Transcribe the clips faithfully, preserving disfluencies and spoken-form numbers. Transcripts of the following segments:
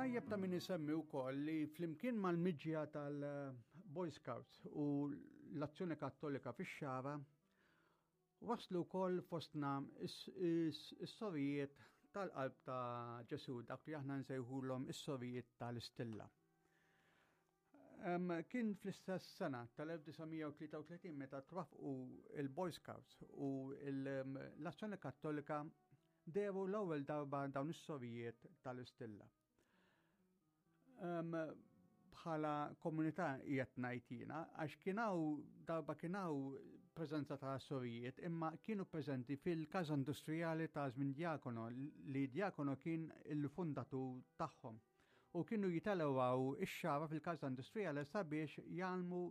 Tajjeb ta' min isemmi wkoll li flimkien mal-miġja tal-Boy Scouts u l-Azzjoni Kattolika fix-Xagħra waslu wkoll fostna is-sorijiet tal-qalb ta' Ġesu, dak li aħna nsejħulhom is-sorijiet tal-Istilla. Kien fl-istess sena tal-elf disa' mija u tlieta u tletin meta twafqu il-Boy Scouts u l-Azzjoni Kattolika dehru l-ewwel darba dawn is-sorijiet tal-Istilla. Bħala komunità qiegħed ngħid jiena, għax kien hawn darba kien hawn preżenza ta' sorijiet, imma kienu preżenti fil-Każa Industrijali ta' żmien Diacono, li Diacono kien il-fundatur tagħhom. U kienu jitelewaw ix-Xagħra fil-Każa Industrijali sabiex jgħallmu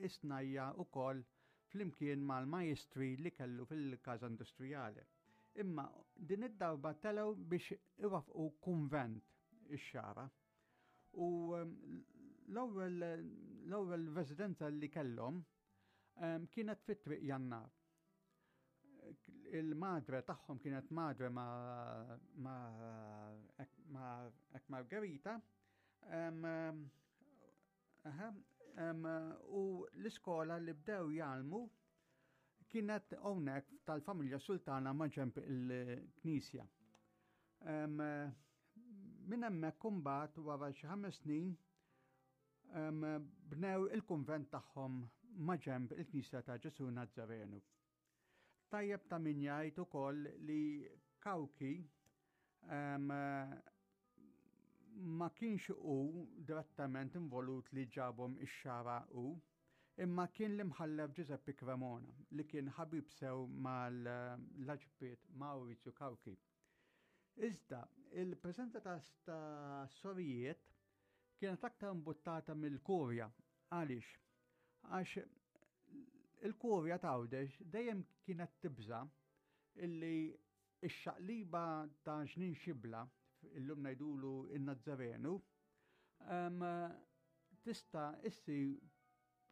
is-snajja wkoll flimkien mal-majestri li kellu fil-Każa Industrijali. Imma din id-darba telew biex iwafqu kunvent ix-Xagħra. U l-ewwel, l-ewwel residenza li kellhom, em, kienet fit-Triq Jannar. Il-madre tagħhom kienet madre ma, ma, ma, ek Margherita, em, aha, em, u l-iskola li bdew jgħallmu kienet hawnhekk tal-familja Sultana ma' ġenb il-knisja. Em, Minn hemmhekk imbagħad wara xi ħames snin, em, bnew il-kunvent tagħhom ma' ġenb il-Knisja ta' Ġesu Nazzarenu. Tajjeb ta' min jgħid ukoll li Cauchi, em, ma kienx hu direttament involut li ġabhom ix-Xagħra hu, imma kien l-imħallef Giuseppe Cremona li kien ħabib sew mal-Arċipriet Maurizio Cauchi. Iżda, il-preżenza ta', ta' sorijiet kienet aktar imbuttata mill-kurja. Għaliex? Għax il-kurja ta' Għawdex dejjem kienet tibża illi x-xaqliba ta' Ġnien Xibla, illum ngħidulu in-Nazzarenu, em, tista' issir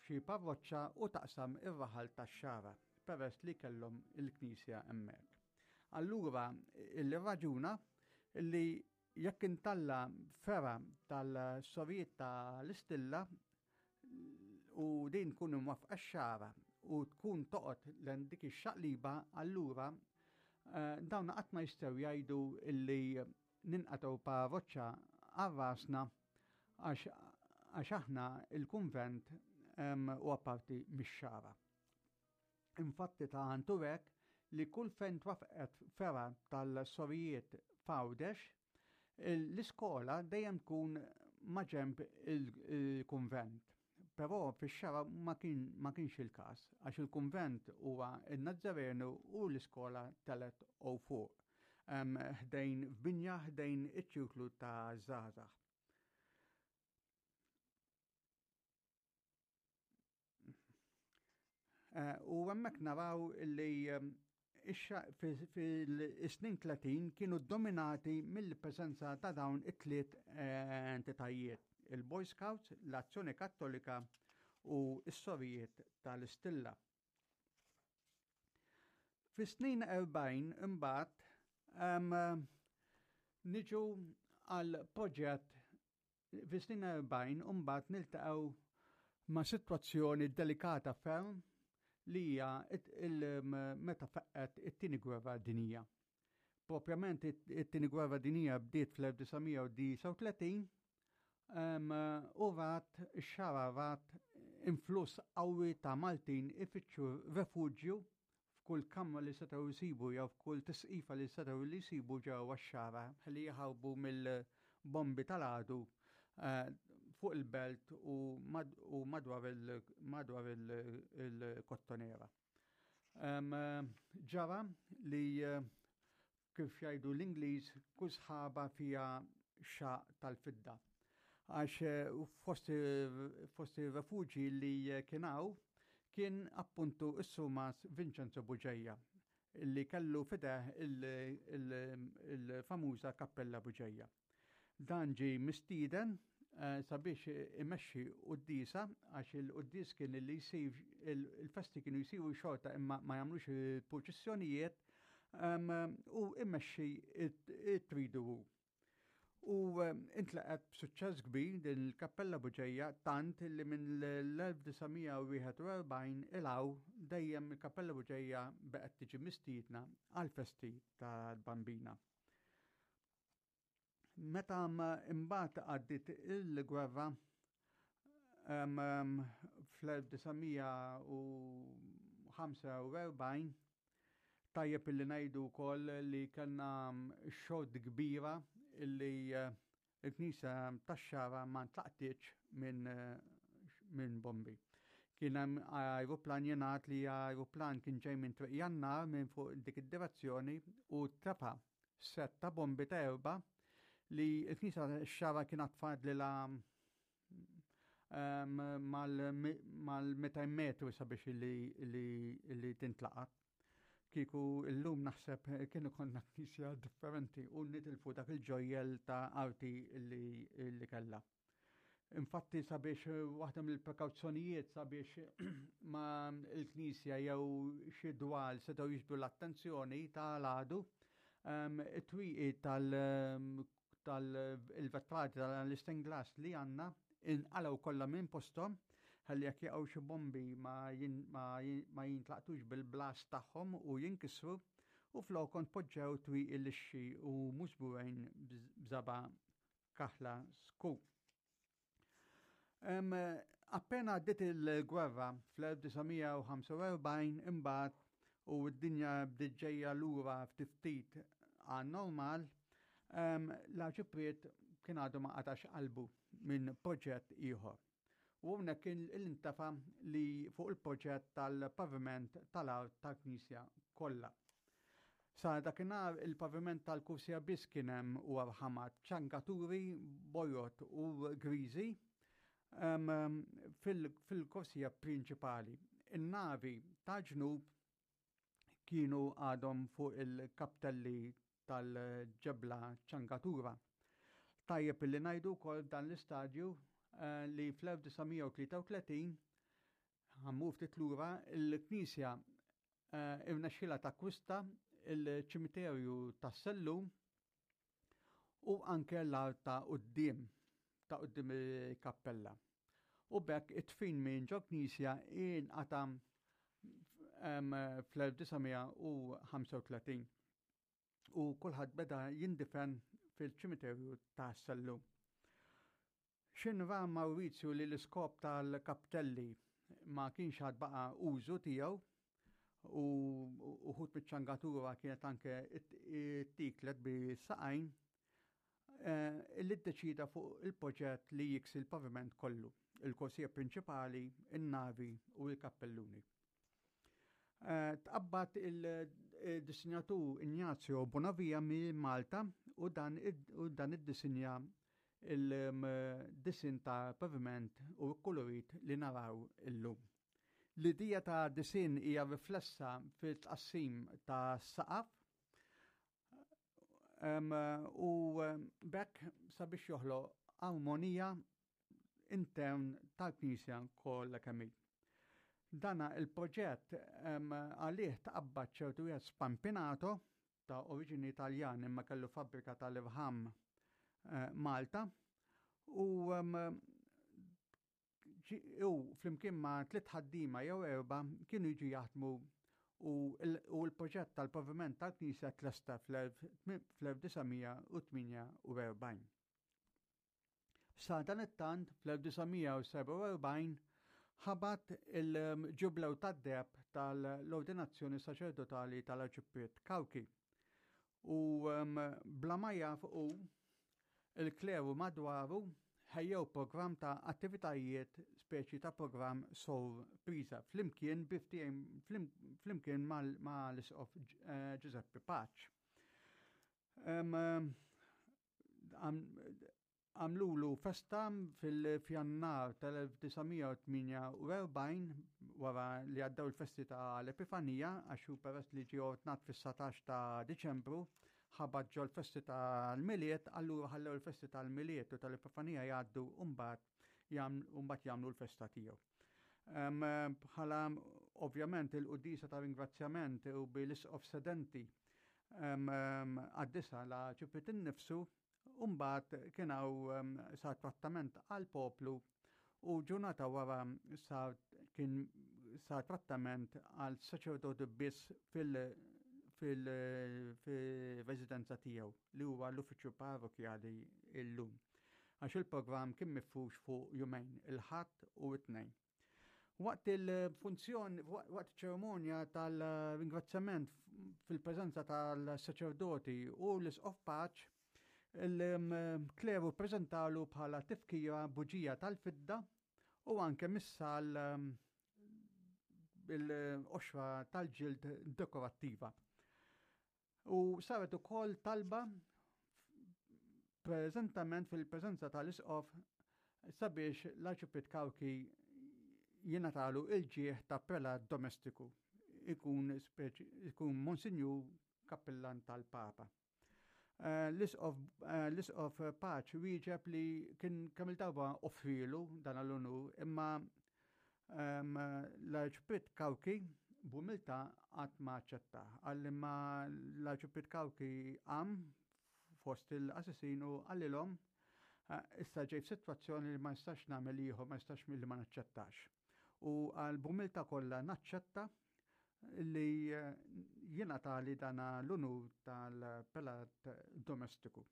xi parroċċa u taqsam ir-raħal tax-Xagħra, peress li kellhom il-knisja hemmhekk. Allura, il-raġuna li jekk intalla fergħa tal-sorijiet tal-Istilla u din tkun imwafqa x-Xagħra u tkun toqgħod lejn dik ix-xaqliba, allura, eh, dawn qatt ma jistgħu jgħidu illi ninqatgħu parroċċa għal rasna għax, għax aħna il-kunvent, em, huwa parti mix-Xagħra. Infatti ta' għandu hekk li kull fejn twafqet fergħa tal-sorijiet f'Għawdex, l-iskola dejjem tkun maġenb il-kunvent. Però fix-Xagħra ma kien, ma kienx il-każ, għax il-kunvent huwa n-Nazzarenu u l-iskola telet u fuq, em, ħdejn f'binja ħdejn iċ-ċirklu ta' żgħażagħ. Eh, u hemmhekk naraw li, em, ix-xa-, fi-, fil-snin tletin kienu dominati mill-preżenza ta' dawn it-tliet, eh, entitajiet, il-Boy Scouts, l-Azzjoni Kattolika u s-Sorijiet tal-Istilla. Fis-snin erbgħin imbagħad, em, niġu għal proġett fis-snin erbgħin imbagħad niltaqgħu ma' sitwazzjoni delikata ferm li hija it-, il-, meta faqqet it-tieni gwerra dinjija. Propjament it-, it-tieni gwerra dinjija bdiet fl-elf disa' mija u disgħa u tletin, em, u rat ix-Xagħra rat influss qawwi ta' Maltin ifittxu refuġju f'kull kamra li setgħu jsibu jew f'kull tisqifa li setgħu li jsibu ġewwa x-Xagħra ħalli jaħarbu mill-bombi tal-għadu, eh, fuq il-belt u mad-, u madwar il-, madwar il-, il-Kottonera. Em, ġara li, eh, kif jgħidu l-Ingliż kull sħaba fija xaq tal-fidda. Għax, eh, fost, fost il-refuġi li kien hawn kien appuntu s-sumas Vincenzo Bugeja li kellu fideh il-, il-, il-famuża Kappella Bugeja. Dan ġie mistieden, eh, sabiex imexxi quddiesa, għax il-quddies kien li jsir, il-, il-festi kienu jsiru xorta imma ma jagħmlux il-purċissjonijiet, em, u imexxi it-tridu. U intlaqgħet b'suċċess kbir din il-Kappella Buġeja, tant li minn l-elf disa' mija u wieħed u erbgħin 'l hawn dejjem il-Kappella Buġeja baqgħet tiġi mistiedna għal-festi tal-Bambina. Meta imbagħad għaddiet il-gwerra fl-elf disa' mija u ħamsa u erbgħin, tajjeb illi ngħidu wkoll li kellna xorti kbira illi eh, il-knisja tax-Xagħra ma ntlaqtitx minn min bombi. Kien hemm aeroplan, jingħad li aeroplan kien ġej minn Triq Jannar minn fuq dik id-direzzjoni u tefa' set ta' bombi ta' erba' li l-knisja tax-Xagħra kien fadlilha mal-mitejn metru sabiex li, li, li tintlaqat. Kieku illum naħseb kienu konna knisja differenti u nitilfu dak il-ġojjel ta' arti li, li kella. Infatti, sabiex waħda mill-prekawzjonijiet sabiex ma il-knisja jew xi dwal setgħu jiġbdu l-attenzjoni tal-għadu, it-twieqi tal-vetrati tal-stained glass li għandna inqalgħu kollha minn posthom ħalli jekk jaqgħu xi bombi ma, ma jintlaqtux bil-blast tagħhom u jinkisru, u flokhom poġġew twieqi lixxi u miżbugħin b'żebgħa kaħla skur. Um, appena għaddiet il-gwerra fl-elf disa' mija u ħamsa u erbgħin imbagħad u d-dinja bdiet ġejja lura ftit għan normal, um, l-Arċipriet kien għadu ma qatax qalbu minn proġett ieħor. U hawnhekk kien l-intafa li fuq il-proġett tal-paviment tal-art tal-Knisja kollha. Sa dakinhar il-paviment tal-kursija biss kien hemm u arħamat ċangaturi bojod u griżi um, fil-korsija prinċipali. In-navi ta' ġnub kienu għadhom fuq il-kaptelli tal-ġebla ċangatura. Tajjeb illi ngħidu wkoll dan l-istadju uh, li fl-elf disa' mija u tlieta u tletin, ħa mmur ftit lura, il-Knisja uh, irnexxila takkwista il-ċimiterju tas-Sellum u anke l-art ta' quddiem ta' quddiem il-kappella. U b'hekk it-tfin minn ġo knisja inqata' fl-elf disa' mija u ħamsa u tletin u kulħadd beda jindifen fil-ċimiterju ta' Sellum. X'ħin ra Maurizio li l-iskop tal-kaptelli ma kienx għad baqa użu tiegħu u uħud biċ-ċangatura kienet anke ittieklet bis-saqajn, eh, li ddeċida fuq il-proġett li jiksi l-paviment kollu, il-korsija prinċipali, il-navi u il-kappelluni. Eh, tqabbad il-disinjatur Ignazio Bonavia minn Malta u dan u dan id-disinja il-disin ta' paviment u kolorit li naraw illum. L-idea ta' disin hija riflessa fil-tqassim ta' saqaf u b'hekk sabiex joħloq armonija intern tal-Knisja kollha kemm hi. Dana il-proġett għalih taqabbad ċertu wieħed Spampinato ta' oriġini Italjan imma kellu fabbrika tal-irħam eh, Malta u u flimkien ma' tliet ħaddiema jew erba' kienu jiġu jaħdmu u l-proġett tal-paviment tal-Knisja tlesta fl-elf disa' mija u tmienja u erbgħin. Sa dan it-tant fl-elf disa' mija u sebgħa u erbgħin ħabat il-ġublew tad-deheb tal-ordinazzjoni saċerdotali tal-Arċipriet Cauchi. U bla ma jaf u il-kleru madwaru ħejjew program ta' attivitajiet, speċi ta' program sorpriża flimkien flimkien mal-Isqof eh, Giuseppe Pace. Għamlulu festa fil-Fjannar tal-elf disa' mija u tmienja u erbgħin wara li għaddew il-festi ta' l-Epifanija, għax hu peress li ġie ordnat fis-satax ta' Diċembru, ħabat ġo l-festi tal-Milied, allura ħallew il-festi tal-Milied u tal-Epifanija jgħaddu u mbagħad jagħmlu l-festa tiegħu. Bħala ovvjament il-quddiesa ta' ringrazzjament u bil-isqof sedenti għaddisa l-Arċipriet innifsu. U mbagħad kien hawn sar trattament għall-poplu u ġurnata wara sar kien sar trattament għal saċerdoti biss fil- fil-residenza tiegħu, li huwa l-uffiċċju parrokjali illum. Għax il-programm kien mifrux fuq jumejn, il-Ħadd u t-Tnejn. Waqt il-funzjon, waqt ċerimonja tal-ringrazzjament fil-preżenza tal-saċerdoti u l-Isqof Pace, il-kleru prezentalu bħala tifkira buġija tal-fidda u anke missal bil-qoxra tal-ġild dekorattiva. U saret ukoll talba preżentament fil-preżenza tal-Isqof sabiex l-Arċipriet Cauchi jingħatalu il-ġieħ ta' prelat domestiku, ikun ikun Monsinjur Kappillan tal-Papa. Eh, l-Isqof Pace wieġeb li kien kemm il-darba offrilu dan l-unur, imma l-Arċipriet Cauchi b'umiltà qatt ma aċċetta. Qal imma l-Arċipriet Cauchi qam fost il-qassisin u qalilhom, "Issa ġej f'sitwazzjoni li ma nistax nagħmel ieħor, ma nistax milli ma naċċettax." U qal, "B'umiltà kollha naċċetta li jingħatali dan l-unur tal-prelat domestiku."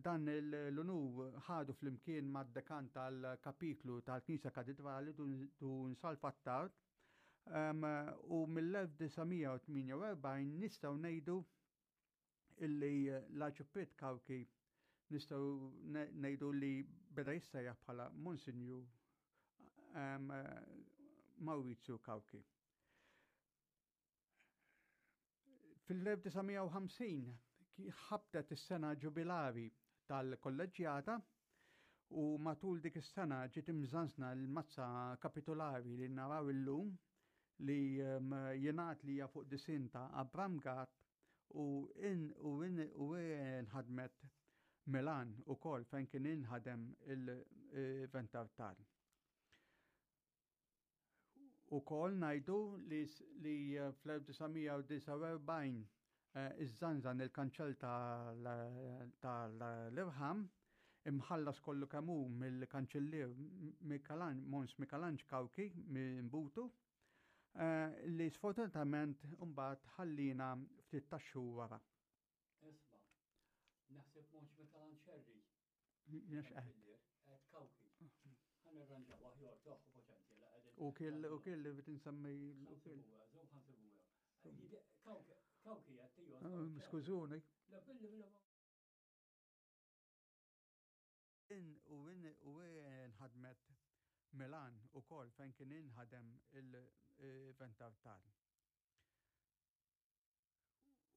Dan l-unur ħadu flimkien mad-dekan tal-kapitlu tal-Knisja Katedrali, Dun Salv Attard, u mill-elf disa' mija u tmienja u erbgħin nistgħu ngħidu illi l-Arċipriet Cauchi nistgħu ngħidu li beda jissejjaħ bħala Monsinjur Maurizio Cauchi. Fil-elf disa' mija u ħamsin ħabtet is-sena ġubilari tal-kolleġġjata u matul dik is-sena ġiet imżanżna l-mazza kapitolari li naraw illum, li jingħad li hija fuq disinn ta' Abram Gatt u in u in u inħadmet Milan ukoll, fejn kien inħadem il-ventartal. Ukoll ngħidu li, li fl-elf disa' mija u disgħa u erbgħin iżżanżan il-kanċell tal-irħam imħallas kollu kemm hu mill-kanċellier Mons Mikalanġ Cauchi minn Butu, li sfortunatament mbagħad ħallina ftit tax-xhur wara. Isma', naħseb Mons Mikalanġ Xerri. Jiena x'qed? Qed Cauchi. Ħa nirranġaw aħjar toħ potenti. U kill u kill li bit insemmi u kill. Cauchi qed tiju. Skużuni. In u in u inħadmet Milan ukoll, fejn kien inħadem il-ventartal.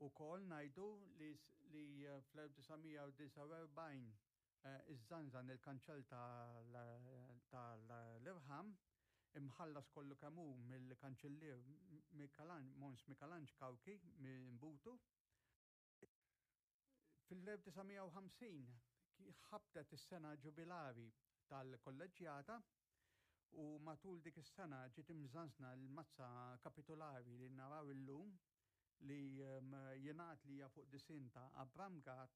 Ukoll ngħidu li, li fl-elf disa' mija u disgħa u erbgħin iżżanżan il-kanċell tal-irħam imħallas kollu kemm hu mill-kanċellier Mons Mikalanġ Cauchi minn Butu. Fil-elf disa' mija u ħamsin ħabtet is-sena ġubilari tal-kolleġġjata u matul dik is-sena ġiet imżanżna l-mazza kapitolari li naraw illum, li jingħad li hija fuq disinn ta' Abram Gatt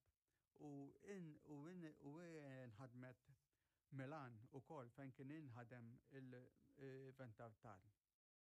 u in u in u inħadmet Milan ukoll, fejn kien inħadem il-ventartal.